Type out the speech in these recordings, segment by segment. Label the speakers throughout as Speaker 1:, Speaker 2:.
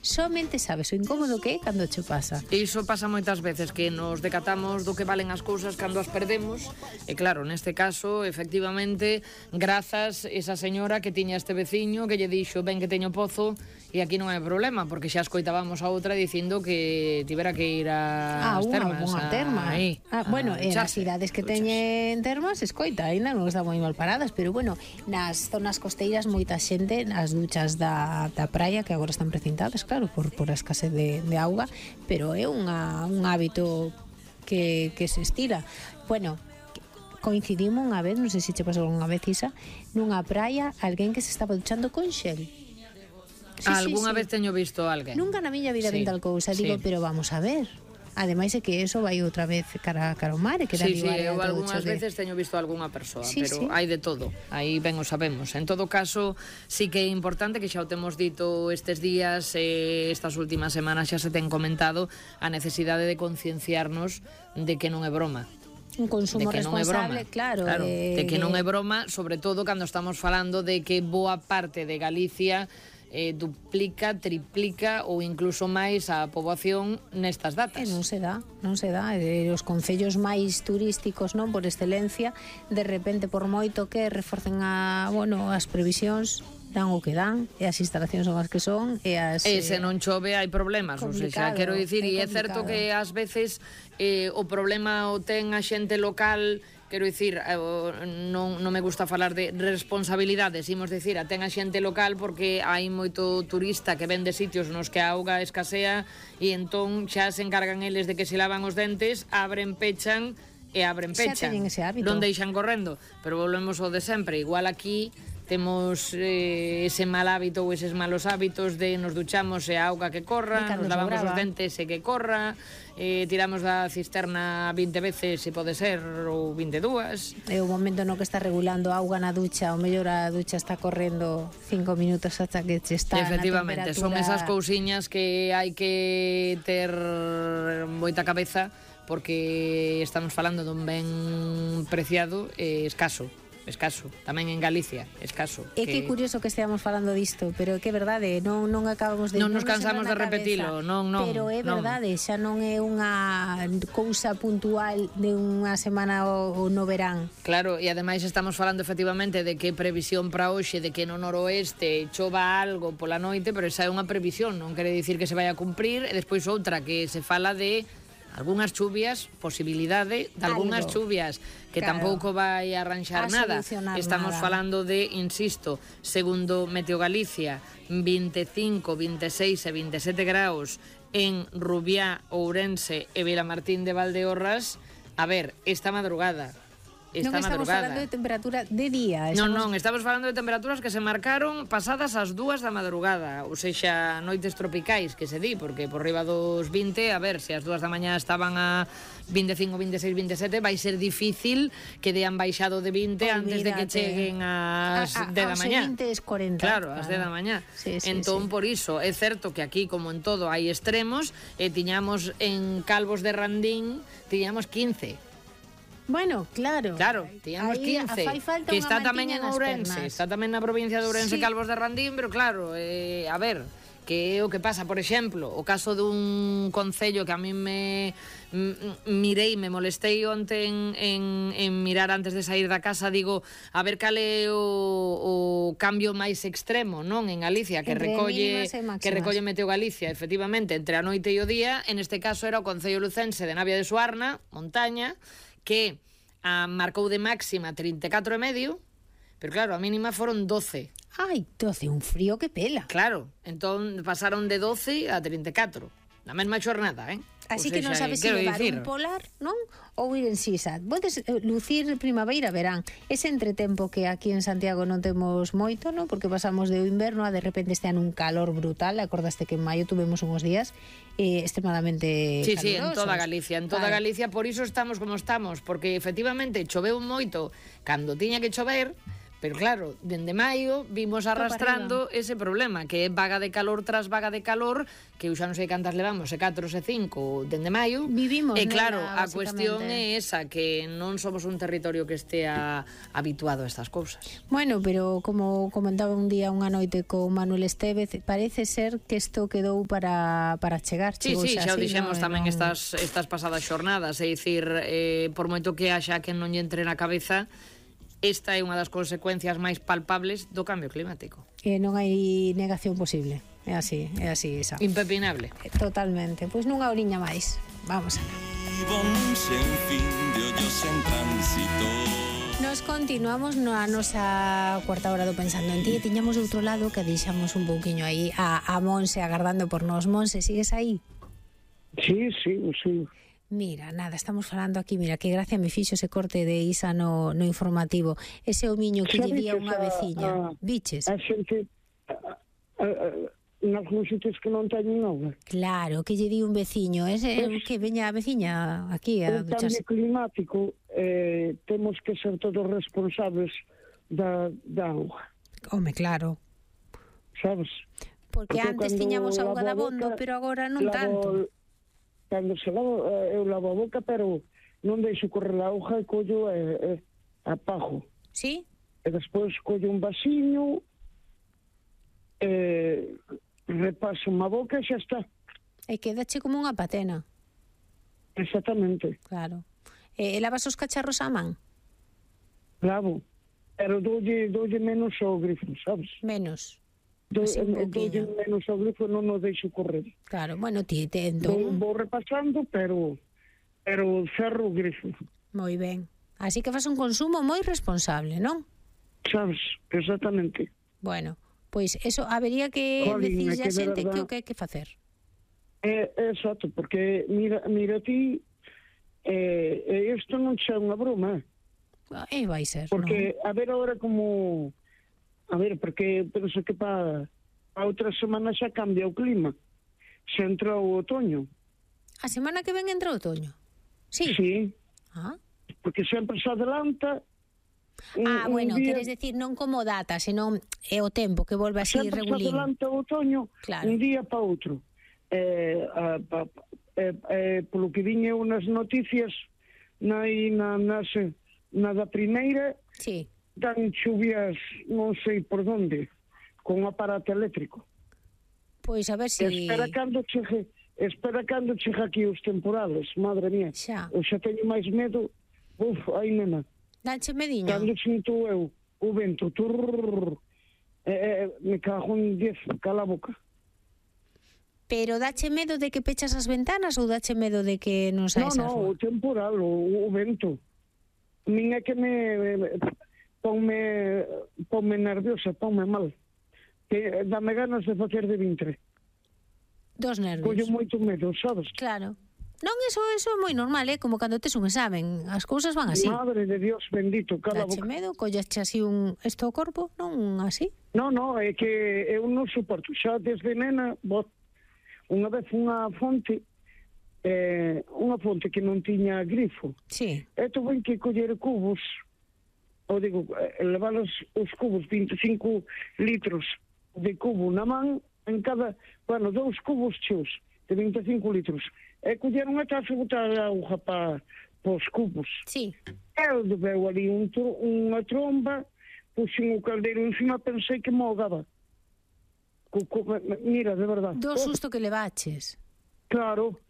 Speaker 1: somente sabes o incómodo que é cando che pasa.
Speaker 2: Iso pasa moitas veces, que nos decatamos do que valen as cousas cando as perdemos, e claro, neste caso, efectivamente, grazas esa señora que tiña este veciño que lle dixo, ben que teño pozo e aquí non hai problema, porque xa escoitábamos a outra dicindo que tivera que ir ás termas.
Speaker 1: Unha terma. Bueno, as cidades que teñen termas, escoita, ainda non están moi mal paradas, pero bueno, nas zonas costeiras moita xente, as duchas da praia, que agora están precintadas, claro, por a escasez de auga, pero é un hábito que se estira. Bueno, coincidimos unha vez, non sei se che pasou unha vez, Isa, nunha praia, alguén que se estaba duchando con xel.
Speaker 2: Algúnha vez teño visto alguén.
Speaker 1: Nunca na miña vida ven tal cousa, digo, pero vamos a ver. Ademais é que eso vai outra vez cara ao mar, que
Speaker 2: eu algunhas veces teño visto algunha persoa, pero hai de todo, aí ben o sabemos. En todo caso, sí que é importante, que xa o temos dito estes días, estas últimas semanas xa se ten comentado a necesidade de concienciarnos de que non é broma.
Speaker 1: Un consumo responsable, claro.
Speaker 2: De que non é broma, sobre todo cando estamos falando de que boa parte de Galicia duplica, triplica ou incluso máis a poboación nestas datas.
Speaker 1: Non se dá. Os concellos máis turísticos, non, por excelencia, de repente, por moito que reforcen as previsións, dan o que dan, e as instalacións son as que son, e
Speaker 2: se non chove hai problemas, ou seja, quero dicir, e é certo que ás veces o problema o ten a xente local. Quero dicir, non me gusta falar de responsabilidades, imos dicir, a ten a xente local, porque hai moito turista que ven de sitios nos que a auga escasea e entón xa se encargan eles de que se lavan os dentes, abren, pechan e abren, pechan, non deixan correndo, pero volvemos ao de sempre. Igual aquí temos ese mal hábito ou eses malos hábitos de nos duchamos e a auga que corra, nos lavamos os dentes e que corra, tiramos da cisterna 20 veces se pode ser, ou 22.
Speaker 1: É o momento no que está regulando a auga na ducha, o mellor a ducha está correndo 5 minutos hasta que che está.
Speaker 2: Efectivamente, son esas cousiñas que hai que ter moita cabeza, porque estamos falando dun ben preciado e escaso, tamén en Galicia, escaso.
Speaker 1: É que curioso que esteamos falando disto, pero que é verdade, non acabamos de...
Speaker 2: Non nos cansamos de repetilo, non.
Speaker 1: Pero é verdade, xa non é unha cousa puntual de unha semana ou no verán.
Speaker 2: Claro, e ademais estamos falando efectivamente de que previsión para hoxe, de que no noroeste chova algo pola noite, pero esa é unha previsión, non quere dicir que se vai a cumprir, e despois outra que se fala de algunhas chuvias, posibilidade de algunhas chuvias, que tampouco vai arranxar nada. Estamos falando de, insisto, segundo Meteo Galicia, 25, 26 e 27 graus en Rubiá, Ourense e Vilamartín de Valdeorras. A ver, esta madrugada.
Speaker 1: Non estamos falando de temperatura de día.
Speaker 2: Non, estamos falando de temperaturas que se marcaron pasadas as 2 da madrugada, ou seja, noites tropicais, que se di, porque por riba dos 20, a ver, se as 2 da mañá estaban a 25, 26, 27, vai ser difícil que dean baixado de 20 antes de que cheguen as 10 da mañá.
Speaker 1: Aos 20 es 40.
Speaker 2: Claro, as 10 da mañá. Entón, por iso, é certo que aquí, como en todo, hai extremos, e tiñamos en Calvos de Randín, tiñamos 15.
Speaker 1: Bueno, claro,
Speaker 2: tiñamos 15, que está tamén en Ourense, está tamén na provincia de Ourense, Calvos de Randín, pero claro, a ver, que é o que pasa, por exemplo, o caso dun concello que a mí me molestei onte en mirar antes de sair da casa, digo, a ver cal é o cambio máis extremo, non, en Galicia, que recolle Meteo Galicia, efectivamente, entre a noite e o día. En este caso era o concello lucense de Navia de Suarna, montaña, que marcou de máxima 34,5, pero claro, a mínima foron 12.
Speaker 1: Ai, 12, un frío que pela.
Speaker 2: Claro, entón pasaron de 12 a 34, na mesma xornada,
Speaker 1: Así que non sabes se levar un polar, non? Ou ir en sisa. Podes lucir primavera, verán. Ese entretempo que aquí en Santiago non temos moito, non? Porque pasamos de inverno a de repente este ano un calor brutal. Acordaste que en maio tuvemos uns días extremadamente calurosos.
Speaker 2: Sí, en toda Galicia, Galicia, por iso estamos como estamos, porque efectivamente choveu moito cando tiña que chover, Pero claro, dende maio vimos arrastrando ese problema, que é vaga de calor tras vaga de calor, que eu xa non sei cantas levamos, se 4 se 5 dende maio.
Speaker 1: Vivimos,
Speaker 2: e claro,
Speaker 1: nela,
Speaker 2: a cuestión é esa, que non somos un territorio que estea habituado a estas cousas.
Speaker 1: Bueno, pero como comentaba un día unha noite con Manuel Estévez, parece ser que isto quedou para chegar.
Speaker 2: Sí, xa o dixemos tamén estas pasadas xornadas, é dicir, por moito que haxa que non lle entre na cabeza, esta é unha das consecuencias máis palpables do cambio climático.
Speaker 1: Non hai negación posible. É así, Isa.
Speaker 2: Impepinable.
Speaker 1: Totalmente. Pois nunha horiña máis. Vamos alá. Nos continuamos na nosa cuarta hora do Pensando en Ti. Tiñamos do outro lado que deixamos un pouquiño aí a Monse agardando por nós. Monse, sigues aí?
Speaker 3: Sí.
Speaker 1: Mira, nada, estamos falando aquí, mira, que gracia me fixo ese corte de Isa no informativo. Ese homiño que lle di a unha veciña. Biches?
Speaker 3: A xente, nalgúns sitios que non teñen auga.
Speaker 1: Claro, que lle di un veciño. Que veña a veciña aquí a ducharse.
Speaker 3: O cambio climático, temos que ser todos responsables da auga.
Speaker 1: Home, claro.
Speaker 3: Sabes?
Speaker 1: Porque antes tiñamos auga da bondo, pero agora non tanto.
Speaker 3: Cando se lavo, eu lavo a boca, pero non deixo correr a auga e collo apago.
Speaker 1: Sí?
Speaker 3: E despois collo un vasiño, repaso má boca e xa está.
Speaker 1: E quedache como unha patena.
Speaker 3: Exactamente.
Speaker 1: Claro. E lavas os cacharros á man?
Speaker 3: Lavo, pero doulle menos ao grifo, sabes?
Speaker 1: Menos.
Speaker 3: Doulle menos ao grifo, non o deixo correr.
Speaker 1: Claro, bueno, ti entón...
Speaker 3: Vou repasando, pero cerro o grifo.
Speaker 1: Moi ben. Así que faz un consumo moi responsable, non?
Speaker 3: Sabes, exactamente.
Speaker 1: Bueno, pois eso habería que decirle a xente que o que hai que facer.
Speaker 3: Exacto, porque mira ti, isto non xa é unha broma.
Speaker 1: E vai ser,
Speaker 3: porque,
Speaker 1: non?
Speaker 3: a ver agora como... A ver, porque penso que para outra semana xa cambia o clima. Xa entra o otoño.
Speaker 1: A semana que ven entra o otoño? Sí.
Speaker 3: Sí.
Speaker 1: Ah.
Speaker 3: Porque sempre se adelanta...
Speaker 1: bueno, queres decir non como data, senón é o tempo que volve así regulín.
Speaker 3: Sempre se adelanta o otoño, claro, un día para outro. Polo que viñe unas noticias na da primeira...
Speaker 1: Sí.
Speaker 3: Dan chuvias non sei por onde, con un aparato eléctrico.
Speaker 1: Pois a ver se...
Speaker 3: Espera cando chegue aquí os temporales, madre mía.
Speaker 1: Xa.
Speaker 3: Eu xa teño máis medo. Ai, nena.
Speaker 1: Danche mediño?
Speaker 3: Cando sinto eu o vento, me cago en 10, cala a boca.
Speaker 1: Pero dache medo de que pechas as ventanas ou dache medo de que non saes a rúa?
Speaker 3: O temporal, o vento. Min é que ponme nerviosa, ponme mal. Que dame ganas de facer de vintre.
Speaker 1: Dos nervios.
Speaker 3: Collo moito medo, sabes?
Speaker 1: Claro. Non, eso é moi normal, como cando tes un examen. As cousas van así.
Speaker 3: Madre de Dios bendito, cala a boca.
Speaker 1: Dache medo, collache así isto ao corpo, non así?
Speaker 3: No, é que eu non suporto. Xa desde nena, unha vez unha fonte que non tiña grifo.
Speaker 1: Sí.
Speaker 3: E tuve que coller cubos, levar os cubos, 25 litros de cubo na man, en cada, 2 cubos cheos de 25 litros. E coller unha taza e botar a auga para os cubos.
Speaker 1: Sí.
Speaker 3: Eu bebeu ali unha tromba, puxen o caldeiro encima, pensei que me ahogaba. Mira, de verdade.
Speaker 1: Do susto que levaches.
Speaker 3: Claro.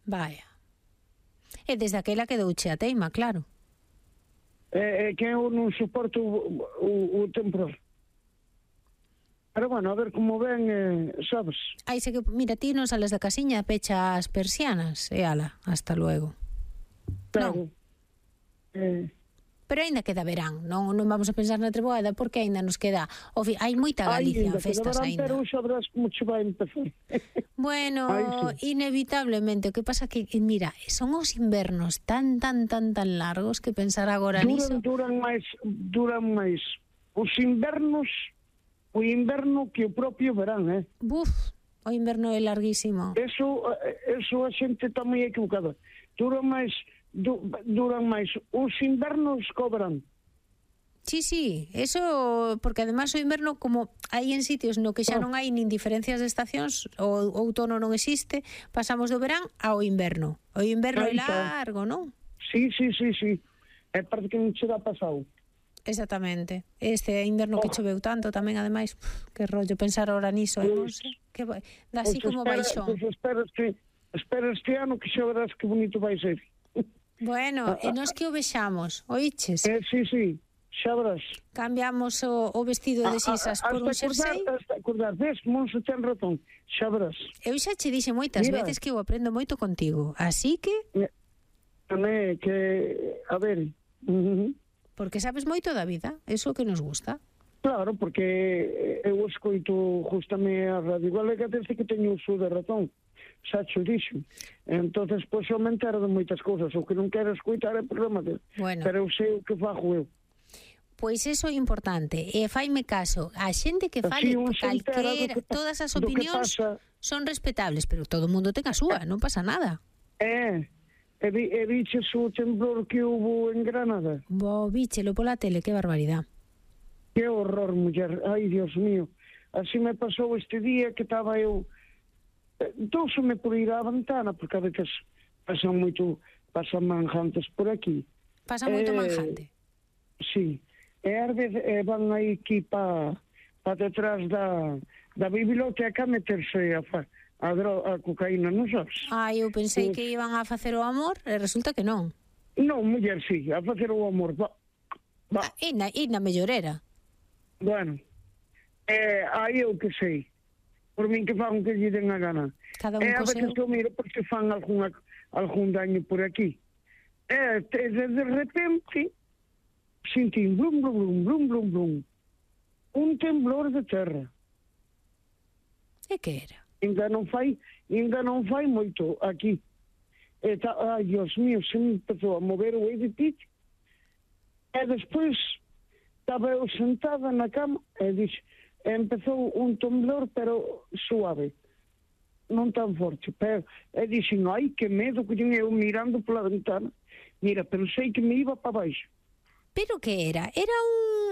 Speaker 1: Vaya. E desde aquela quedouche a teima, claro.
Speaker 3: Que eu non suporto o temporal. Pero bueno, a ver como ven, sabes?
Speaker 1: Mira, ti non sales da casiña, pecha as persianas, e ala, hasta luego.
Speaker 3: Claro.
Speaker 1: Pero aínda queda verán, non vamos a pensar na treboada, porque aínda nos queda... hai moita Galicia en festas aínda.
Speaker 3: Pero sabrás como che vai empezar.
Speaker 1: Bueno, inevitablemente. O que pasa que, mira, son os invernos tan largos que pensar agora niso...
Speaker 3: Duran máis os invernos, o inverno que o propio verán,
Speaker 1: Buf, o inverno é larguísimo.
Speaker 3: Eso a xente está moi equivocada. Duran máis os invernos que o verán.
Speaker 1: Sí, eso, porque además o inverno, como hai en sitios no que xa non hai nin diferencias de estacións, o outono non existe, pasamos do verán ao inverno. O inverno é largo, non?
Speaker 3: Sí. É parte que non che dá pasado.
Speaker 1: Exactamente. Este inverno que choveu tanto tamén, ademais, que rollo pensar ahora niso, non sei, que dá así como baixón.
Speaker 3: Pois espera este ano que xa verás que bonito vai ser.
Speaker 1: Bueno, e nos que o vexamos, oíches?
Speaker 3: Sí, xa verás.
Speaker 1: Cambiamos o vestido de sisas por un xersei.
Speaker 3: Hasta acordar, ves, Monse ten razón, xa verás.
Speaker 1: Eu xa che dixe moitas veces que eu aprendo moito contigo, así que...
Speaker 3: Tamén, que, a ver...
Speaker 1: Porque sabes moito da vida, eso que nos gusta.
Speaker 3: Claro, porque eu escoito justamente a Radio Galega desde que teño uso de razón. Xa cho dixo. Entonces, pois, eu me entero de moitas cousas. O que non quero escoitar é programa dele.
Speaker 1: Bueno.
Speaker 3: Pero eu sei o que fago eu.
Speaker 1: Pois iso é importante. E faime caso. A xente que fale calquera, todas as opinións son respetables, pero todo o mundo ten a súa, non pasa nada.
Speaker 3: E viches o temblor que hubo en Granada?
Speaker 1: Víchelo pola tele, que barbaridade.
Speaker 3: Que horror, muller. Ai, Dios mío. Así me pasou este día que estaba eu... Douseme por ir á ventana, porque a veces pasan manjantes por aquí.
Speaker 1: Pasa moito manjante?
Speaker 3: Sí. E ás veces van aí aquí pa detrás da biblioteca a meterse a cocaína, non sabes?
Speaker 1: Eu pensei que iban a facer o amor e resulta que non.
Speaker 3: Non, muller, sí, a facer o amor. Va.
Speaker 1: E na mellorera.
Speaker 3: Bueno, aí eu que sei. Por min que fan que lle den a gana.
Speaker 1: Cada un co seu.
Speaker 3: A veces eu miro porque fan algún daño por aquí. De repente, sentín blum, blum, blum, blum, blum. Un temblor de terra.
Speaker 1: E que era?
Speaker 3: Ainda non fai moito aquí. Ai, Dios mío, se me empezou a mover o edificio. E despois estaba eu sentada na cama e empezou un temblor, pero suave. Non tan forte. E dixen, ai, que medo que eu mirando pola ventana. Mira, pensei que me iba para baixo.
Speaker 1: Pero que era? Era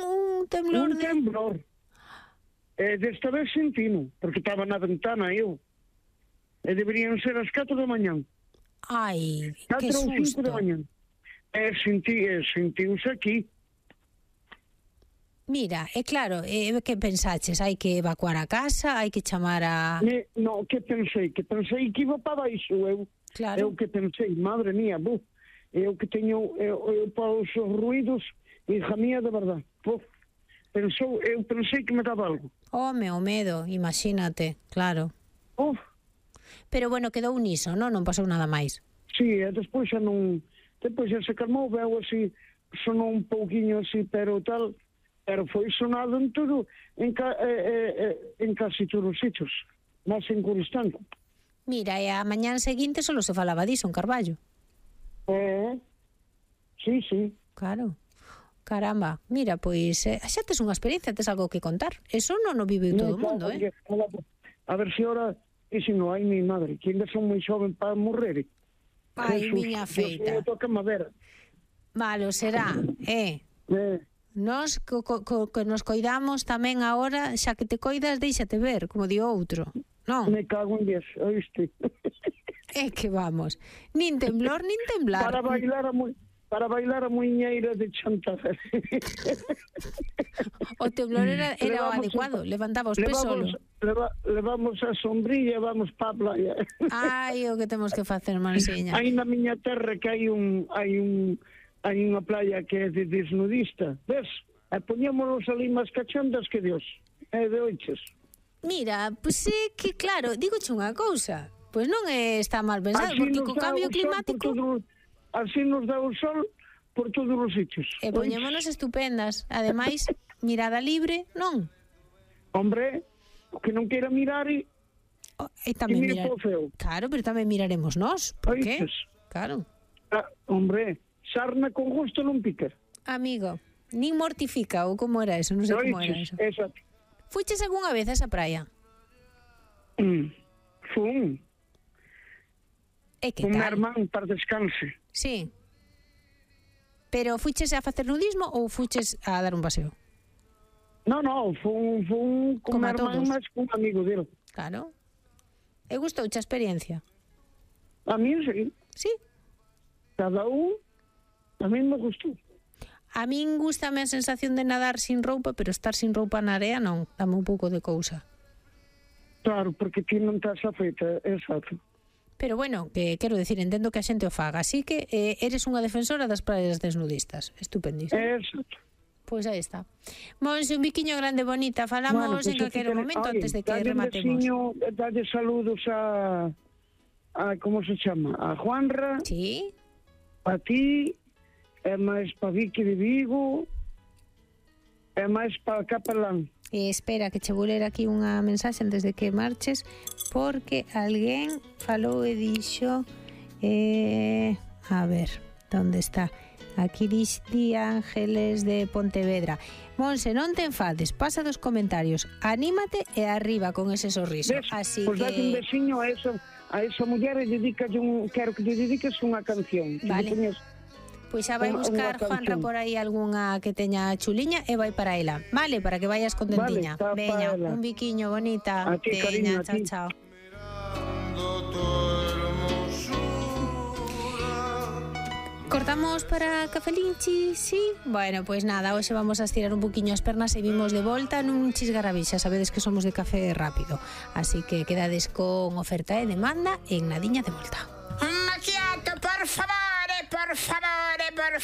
Speaker 1: un temblor
Speaker 3: Un temblor. Desta vez sentino, porque estaba na ventana eu. E deberían ser as 4 da mañán.
Speaker 1: Ai, que
Speaker 3: 4 ou 5
Speaker 1: susto.
Speaker 3: da mañán. Sentiuse aquí.
Speaker 1: Mira, é claro, que pensaches? Hai que evacuar a casa? Hai que chamar a...
Speaker 3: No, que pensei? Que pensei que iba para baixo, eu.
Speaker 1: Claro.
Speaker 3: Eu que pensei, madre mía, eu que teño para os ruidos, hija mía, de verdad. Eu pensei que me daba algo.
Speaker 1: O medo, imagínate, claro. Pero bueno, quedou niso, non pasou nada máis.
Speaker 3: Sí, e despois xa non... Depois xa se calmou, veo así, sonou un pouquiño así, pero tal... Pero foi sonado en todo, en casi todos os sitios, máis en Coristanco.
Speaker 1: Mira, e a mañán seguinte solo se falaba diso en Carballo.
Speaker 3: Sí.
Speaker 1: Claro. Caramba, mira, pois xa tes unha experiencia, tes algo que contar. Eso non o vive todo o mundo,
Speaker 3: A ver se ora, e se non hai mi madre, que ainda son moi xoven para morrer.
Speaker 1: Ai, miña feita.
Speaker 3: Toca madera.
Speaker 1: Malo, será, Nos que nos coidamos tamén agora, xa que te coidas, déixate ver, como di outro. Non?
Speaker 3: Me cago en Dios, oíste.
Speaker 1: É que vamos, nin temblor, nin temblar.
Speaker 3: Para bailar a muiñeira de Chantaje.
Speaker 1: O temblor era o adecuado, levantaba os pés solo.
Speaker 3: Levamos a sombrilla e vamos para a playa.
Speaker 1: Ai, o que temos que facer, Mansiña.
Speaker 3: Aí na miña terra que hai unha playa que é de desnudista, ves? E poñémonos ali máis cachondas que Dios. É de oiches.
Speaker 1: Mira, pois é que claro, dígoche unha cousa. Pois non está mal pensado, porque co cambio climático...
Speaker 3: Así nos dá o sol por todos os sitios.
Speaker 1: E poñémonos estupendas. Ademais, mirada libre, non?
Speaker 3: Hombre, o que non queira mirar e
Speaker 1: tamén
Speaker 3: mire po feo.
Speaker 1: Claro, pero tamén miraremos nós. Por qué? Claro.
Speaker 3: Hombre, sarna con gusto non pica.
Speaker 1: Amigo, nin mortifica, ou como era eso, non sei como era eso.
Speaker 3: Exacto.
Speaker 1: Fuiches algunha vez a esa praia?
Speaker 3: Fun.
Speaker 1: E que
Speaker 3: tal? Un
Speaker 1: tal?
Speaker 3: hermán para descanse.
Speaker 1: Sí. Pero fuches a facer nudismo ou fuches a dar un paseo?
Speaker 3: Non, fun con a irmán, mas cun amigo dele.
Speaker 1: Claro. E gustouche a experiencia?
Speaker 3: A mí, sí.
Speaker 1: Sí?
Speaker 3: Cada un, a mí me gustou.
Speaker 1: A min gustame a sensación de nadar sin roupa, pero estar sin roupa na area non, dame un pouco de cousa.
Speaker 3: Claro, porque ti non estás afeita, exacto.
Speaker 1: Pero bueno, que quero decir, entendo que a xente o faga, así que eres unha defensora das praias desnudistas. Estupendísimo.
Speaker 3: Exacto.
Speaker 1: Pois aí está. Monse, un biquiño grande bonita, falamos en calquero momento antes de que rematemos.
Speaker 3: Dalle saludos a como se chama? A Juanra.
Speaker 1: Sí.
Speaker 3: A ti, e máis pa Vicky de Vigo, e máis pa Capelán.
Speaker 1: Espera, que che vou ler aquí unha mensaxe antes de que marches, porque alguén falou e dixo... a ver, onde está? Aquí di Ángeles de Pontevedra. Monse, non te enfades, pasa dos comentarios, anímate e arriba con ese sorriso. Así
Speaker 3: pues
Speaker 1: que...
Speaker 3: date un veciño a esa muller e quero que lle dediques unha canción.
Speaker 1: Vale. Pois xa vai buscar Juanra por aí algunha que teña chuliña e vai para ela. Vale, para que vayas contentiña.
Speaker 3: Vale,
Speaker 1: veña, un biquiño bonita.
Speaker 3: A ti, cariño, a ti.
Speaker 1: Chao. Cortamos para Cafelinchi, sí? Bueno, pois nada, hoxe vamos a estirar un poquinho as pernas e vimos de volta nun chisgarabix, xa sabedes que somos de café rápido, así que quedades con oferta e demanda en nadiña de volta.
Speaker 4: Un macchiato, por favore, por favore, por